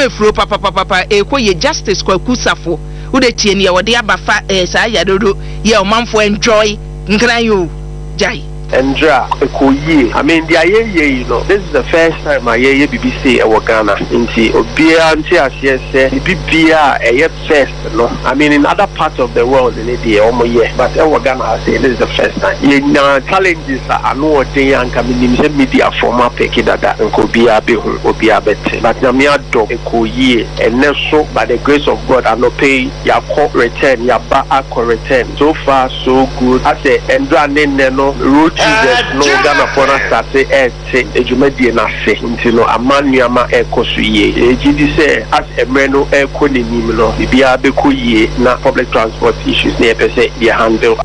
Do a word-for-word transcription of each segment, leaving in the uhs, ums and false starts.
Efuro papapapa ɛkɔ yɛ. Justice Kwaku Safo, wode tie nea wɔde aba fa ɛɛ saa yadodo yɛ ɔmanfoɔ enjoy Nkran yi o, gyae. Ndra ɛkɔ yie. I mean, deɛ yɛyɛ yi no, this is the first time a yɛyɛ bibi sei ɛwɔ Ghana, nti obiara nte aseɛ sɛ bibi biara a ɛyɛ first no, I mean, in other parts of the world ne deɛ wɔn yɛ, but ɛwɔ Ghana ha sei, this is the first time. Yɛnya challenges a ano ɔden a nka menim sɛ media fo mo apɛki dada, nka obiara bɛhu, obiara bɛte, but Nyame adɔ, ɛkɔ yie. Ɛnɛ so, by the grace of God, anɔpɛ yi yɛakɔ return, yɛaba akɔ return. So far so good. Asɛ ndra ne nnɛ no, road users no, Ghanafoɔ no asase ɛɛte adwumadie no ase, nti no ama nneɛma ɛrekɔ so yie. Yɛgye di sɛ as mmerɛ no ɛrekɔ n'anim no, biribiara bɛkɔ yie na public transport issues ne yɛpɛ sɛ yɛ handle.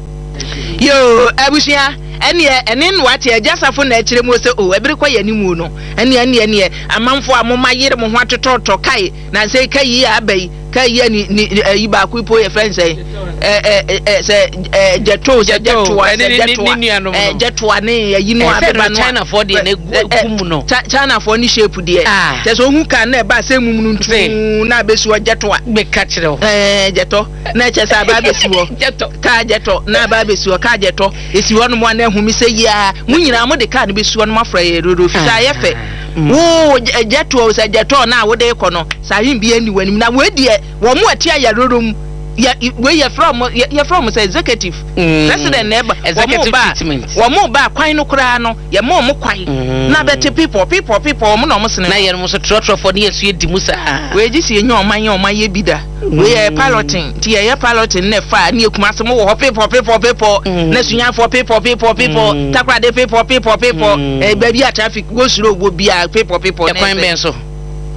Yo, abusua, ɛneɛ ɛne no wate Agya Safo na ɛkyerɛ mu sɛ o ɛbere kɔ yɛ anim no, ɛneɛ ɛneɛ ɛneɛ amanfoɔ a moma yere mo ho atotɔtɔ kae na sɛ ka yi a aba yi ka yi a ni ni ɛyi baako po yɛ fɛn sɛ ɛ ɛ ɛ sɛ ɛ gyɛto sɛ gyɛtoa sɛ gyɛtoa ɛ gyɛtoa ne ɛyi no abeba no. Chinafoɔ deɛ na egu mu no. Chinafoɔ ne shape deɛ kyɛ sɛ ohun kan na ɛba sɛ mum no ntuu na abɛsi hɔ gyɛtoa. Bɛka kyerɛ wo. Ɛɛ, gyɛtɔ na ɛkyɛ sɛ aba abɛsi hɔ. Gyɛtɔ. Kaa gyɛtɔ na aba abɛsi hɔ, kaa gyɛtɔ esi hɔ nom a na ehumi sɛ yia mo nyinaa mo de kaa no bɛsi hɔ nom afra yɛ rodo fitaa yɛ fɛ wo gyɛtoɔ sɛ gyɛtɔ na wode kɔ no saa ahen bi ani w'anim na wei deɛ wɔn mo ɛte ayaroro mu yɛ wei yɛfrɛ wɔn yɛfrɛ wɔn sɛ executive president na ɛba wɔn mo ba wɔn mo ba kwan no koraa no, yɛ mo wɔn kwan na bɛte people people people wɔn na wɔn sene. Na yɛn mo so trɔtrɔfoɔ ne yɛn so yɛ di mu saa. Wei gye si enye ɔman yɛ ɔman yɛ bi da. Wei yɛ piloting, nti yɛyɛ piloting na ɛfa ne ekuma mo wɔ hɔ people people people na Sunyafoɔ people people people, Takoradi people people people, ɛɛ baabi a traffic go slow wɔ bia people people. Ɛkwan bɛn so?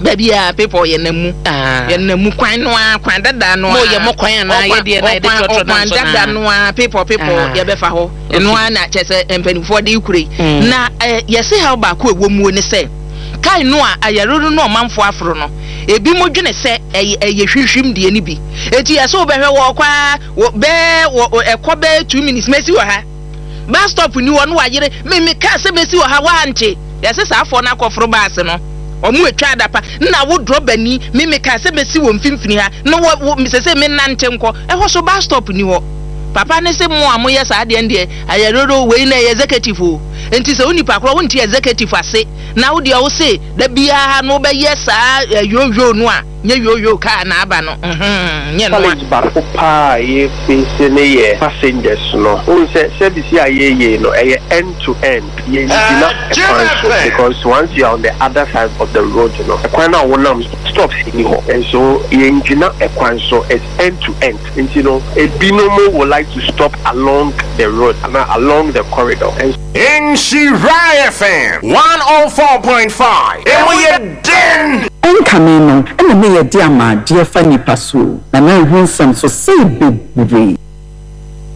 Baabi a people yɛ nam mu, yɛ nam mu kwan no a, kwan dada no a. Mo yɛ mo kwan anaa yɛ deɛ na yɛde trɔtrɔ na nso na dada no a, people people yɛbɛfa hɔ ɛno a na kyerɛ sɛ mpanimfoɔ de kure yi na ɛɛ yɛsi ha. Baako a ɛwɔ mu ne sɛ kae no a ayaroro no ɔmanfoɔ aforo no, ebi mo dwene sɛ ɛyɛ ɛyɛ hwihwim deɛ no bi, eti yɛsɛ wobɛhwɛ wɔ kɔ wɔ bɛɛ wɔ ɛkɔ bɛɛ two minutes mɛsi wɔ ha, bus stop ni hɔ no, wayere mímí kaa sɛ mɛsi wɔ ha wante. Yɛsɛ saa afɔ no akɔforo baase no, ɔmo etwa adapa na wo drɔbani mímí kaa sɛ mɛsi wɔ mfimfini ha na wɔ wɔ sɛ sɛ mi nante nkɔ ɛhɔ so, bus stop ni hɔ. Papa ne sɛ mo a moyɛ saa deɛ deɛ ayaroro wei na ɛyɛ executive o, nti sɛ wo nipa korɔ wonte executive ase na wo deɛ wo se da biara no wobɛyɛ saa yoyo no a nyɛ yoyo kaa na aba no nyɛ no. Challenge baako paa a yɛfesi ne yɛ passengers no. Wohu sɛ service a yɛyɛ no, ɛyɛ end to end. Yɛngyina ɛkwan so because once you are on the other side of the road no, ɛkwan no a wonam, stops ni hɔ, and so yɛngyina ɛkwan so. It's end to end, nti no ebinom would like to stop along the road ana along the corridor and Nhyira F M one oh four point five. Emu yɛ den. Ɛnkame no ɛna ne yɛde ama adeɛ fa nipa so na na ɛho nsɛm so sei bebree.